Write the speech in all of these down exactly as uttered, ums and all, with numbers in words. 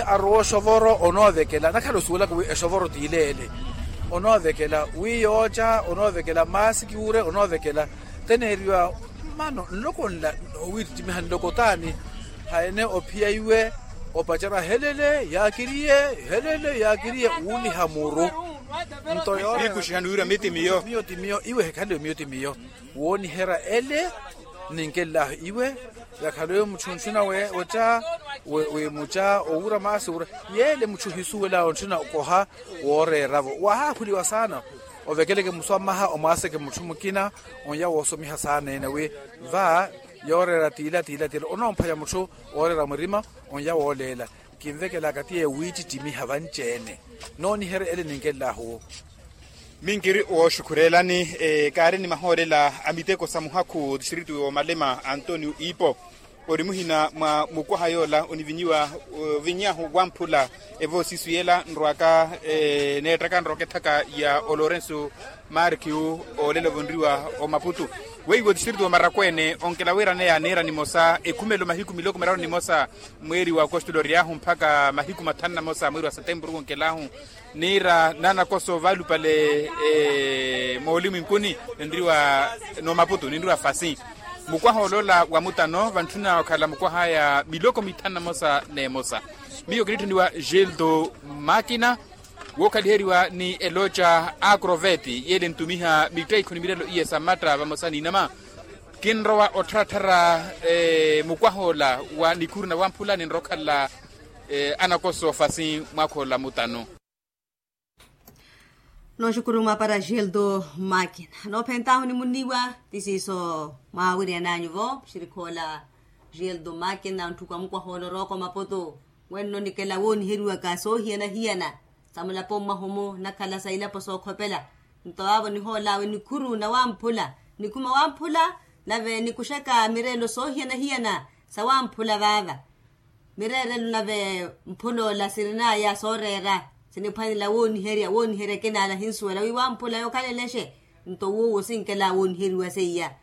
Arowa oxovoro onoovekela nakhala osuwelaka wi exovoro t'ile ele. Onoovekela wi yooca onoovekela maasiki wuure onoovekela. Teneeriwa mmano nloko nla noowiittimiha nloko t'ani? Haene ophiya iwe opacerya helele yaakiriye helele yaakiriye wuuliha muru. Nto yoora miyo ti miyo iwe hekhaliwe miyo ti miyo. Wooniherya ele ninkellahu iwe. Yakhaliwe mutthu ntthuna weetta wi muca owuura maasi owuura yeele mutthu ohisuwela ontthuna okoha. Wooreera-vo wahaakhuliwa saana ovekeleke musu a mmaha omwaaseke mutthu mukina onya woosomiha saana ene wi va yooreera tiila tiila tiila onoomphwanya mutthu wooreera murima onya wooleela. Kinvekelaka ti yeewiittittimiha vanci-ene nooniherya ele ninkellahu. Minkiri wooxukhurelani kaari ni mahoolela a miteko sa muhakhu distritu wa malema antonio ipo. Ori muhina mwa mukwaha yoola onivinyiwa ovinyaahu wamphula evoosisu yela nrwaka neettaka nrwaka ethaka ya olorenso markiu. Olelo vonriwa omaputu weiwo distritu wa marakwene onkela wiiraneya niira nimosa ekhumelo mahiku miloko miraru nimosa mweeri wa okostolo oryahu mpakha mahiku mathanu na mosa mweeri wa setempuru wonkelahu. Niira naanakoso vaalupale moolimu inkuni ninriwa n'omaputu ninriwa fasi. Mukwaha oloola wa mutano vantthuna okhala mukwah'aya miloko mithanu na mosa n'emosa. Miyo kinitthuniwa gildo makina wookhaliheriwa ni eloca acroveti yeele ntumiha mitteikhuni milelo iye sa matta vamosa n'inama. Kinrowa ottharattharya mukwah'ola wa nikhuru na wamphula ninrowa okhala anakoso fasi mwakh'ola mutano. Nooxukuru mwaapara gildo makina noophentahu ni muniwa ti siiso mwaawiryan'anyu-vo muxirikh'ola. Gildo makina ontthuku a mukwah'ola orooko mapoto wenno nikela wooniheriwaka soohiyana-hiyana sa mulapo mwahu-mu nakhala sa ilapo sookhopela. Nto vaavo nihool'awe nikhuru na wamphula nikhuma wamphula nave nikuxaka mireelo soohiyana-hiyana sa wamphula vaava. Mireerelo nave mphul'ola sirin'aya sooreera siniphwanela wooniherya wooniherya kinaala ahinsuwela wi wamphula yookhalelexe. Nto wuwo sinkela wooniheriwa seiya.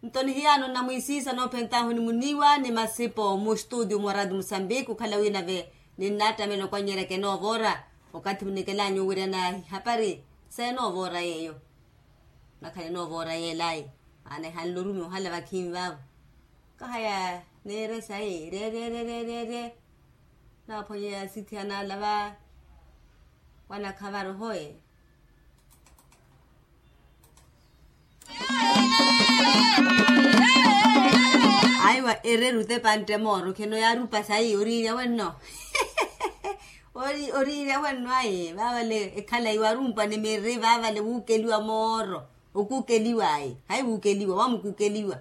Nto nihiyaano nnamwiisiisa noophentahu ni muniiwa ni masipo mustutio mwa radio musambiki okhala wi nave ninnattamela okwannyerya kenoovoora. Okathi munikelaanyu owiryana ihapari seenoovoora yeeyo. Nakhala enoovoora yeelayi maana ehanle orumi ohala vakhiini vaavo. Kahaya neere sayi ryeeryeeryeeryeerye. Naaphwanyeya asithi analava wanakha varohoye. Aiwa ereru tepantte mooro kheno yaarupa sayi oriirya wenno. Oriirya wenno ayi vaavale ekhala iwarumpwa ni miri vaavale wuukeliwa mooro. Okukeliwa ayi hayi wukeliwa wamukukeliwa.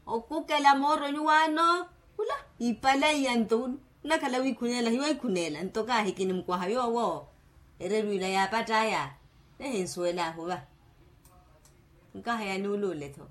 Okukela mooro nyuwaano khula ipalaiya nto khula. Nnakhala wiikhuneela hiwaiikhuneela nto kaahikini mukwaha yoowo. Ererwiila yaapatt'aya nehinsuwel'ahu va. Nkahaya nuuluule-tho.